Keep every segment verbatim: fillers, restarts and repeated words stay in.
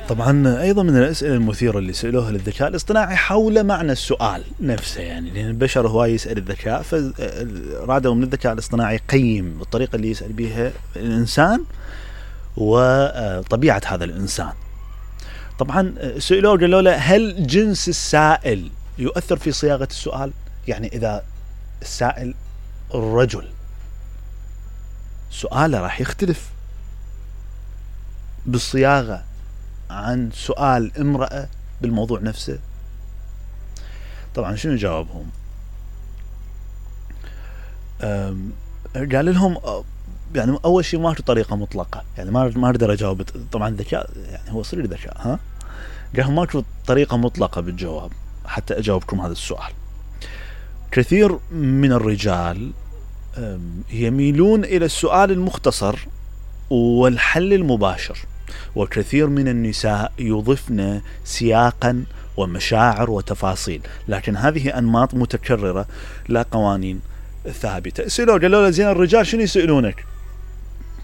طبعا أيضا من الأسئلة المثيرة اللي سألوها للذكاء الاصطناعي حول معنى السؤال نفسه، يعني لأن البشر هواي يسأل الذكاء، فرادوا من الذكاء الاصطناعي يقيم الطريقة اللي يسأل بها الإنسان وطبيعة هذا الإنسان. طبعا سألوه قالوا له هل جنس السائل يؤثر في صياغة السؤال؟ يعني إذا السائل الرجل سؤاله راح يختلف بالصياغة عن سؤال امرأة بالموضوع نفسه. طبعا شنو جاوبهم؟ قال لهم يعني أول شيء ما في طريقة مطلقة، يعني ما ما أقدر أجاوب. طبعا الذكاء يعني هو صريح ذكاء، ها قال ما في طريقة مطلقة بالجواب حتى أجاوبكم هذا السؤال. كثير من الرجال يميلون إلى السؤال المختصر والحل المباشر، وكثير من النساء يضفن سياقا ومشاعر وتفاصيل، لكن هذه أنماط متكررة لا قوانين ثابتة. سألوا قالوا له زين الرجال شنو يسألونك؟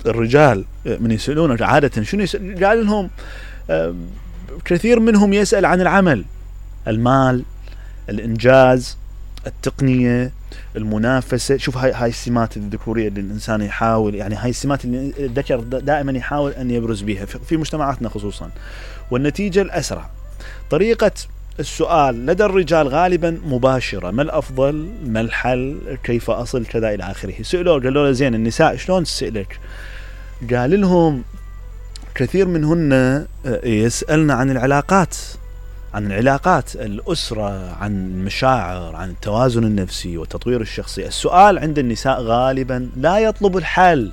الرجال من يسألونك عادة شنو يسأل؟ قال لهم كثير منهم يسأل عن العمل، المال، الإنجاز، التقنية، المنافسة. شوف هاي هاي السمات الذكورية اللي الإنسان يحاول، يعني هاي السمات اللي الذكر دائما يحاول أن يبرز بها في مجتمعاتنا خصوصا. والنتيجة الأسرع. طريقة السؤال لدى الرجال غالبا مباشرة، ما الأفضل، ما الحل، كيف أصل، كذا إلى آخره. سئلوا قالوا له زين النساء شلون تسألك؟ قال لهم كثير منهن يسألنا عن العلاقات، عن العلاقات، الأسرة، عن المشاعر، عن التوازن النفسي وتطوير الشخصي. السؤال عند النساء غالبا لا يطلب الحل.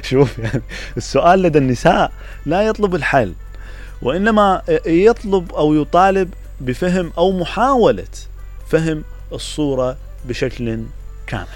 شوف يعني السؤال لدى النساء لا يطلب الحل، وإنما يطلب أو يطالب بفهم أو محاولة فهم الصورة بشكل كامل.